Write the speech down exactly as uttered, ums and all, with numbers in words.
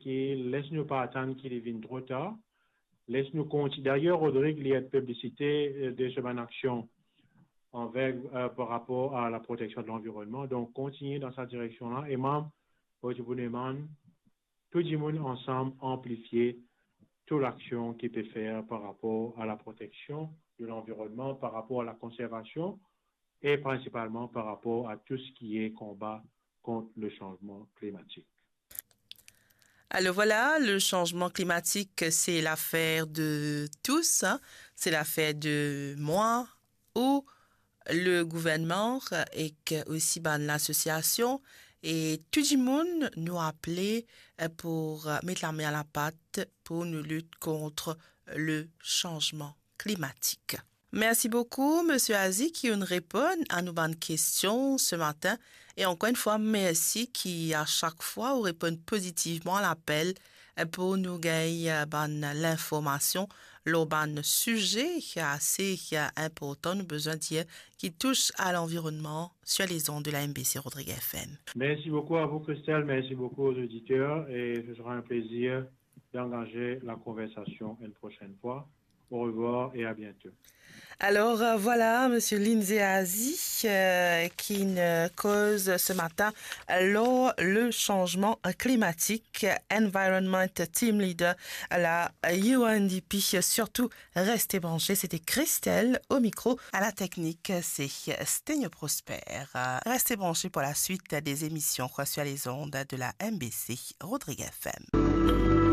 ki les nou pa atann ki li vinn tro tar. Les nou konti-, d'ailleurs, Rodrigue, li et piblisite, euh, de so bann aksion anver, euh, par rapor a la proteksion de lanvironnman. Donk, kontigne dan sa direksion la. E mwa, mo ti pou demann tou dimoun ansam anplifie tou laksion ki pe fer par rapor a la proteksion de lanvironnman, par rapor a la konservasion e prinsipalman par rapor a tou seki konba kont le sanzman klimatik. Alors voilà, le changement climatique, c'est l'affaire de tous, hein. C'est l'affaire de moi, ou le gouvernman, ek osi bann lasosiasion, e tou dimoun nou aple, eh, pou, eh, met lame a lapat pou nou lit kont le sanzman klimatik. Mersi boukou, Misie Azi, ki ou'nn reponn a nou bann kestion se matin. E ankor enn fwa, mersi ki a sak fwa ou reponn pozitivman lapel, eh, pou nou gagn, eh, bann linformasion lor bann size ase, eh, inportan, nou bizin dir, ki tous a lanvironnman sur les ondes de la M B C Rodrigues F M. Merci beaucoup à vous, Christelle. Merci beaucoup aux auditeurs. Et ce sera un plaisir d'engager la conversation une prochaine fois. Au revoir et à bientôt. Alors, euh, voilà, Misie Lindsay Azi, euh, ki'nn koz se matin lor le sanzman klimatik, Environment Team Leader, la U N D P. Surtout, restez branchés. C'était Christelle au micro. À la technique, c'est Stenio Prosper. Restez branchés pour la suite des émissions sur les ondes de la M B C Rodrigues F M.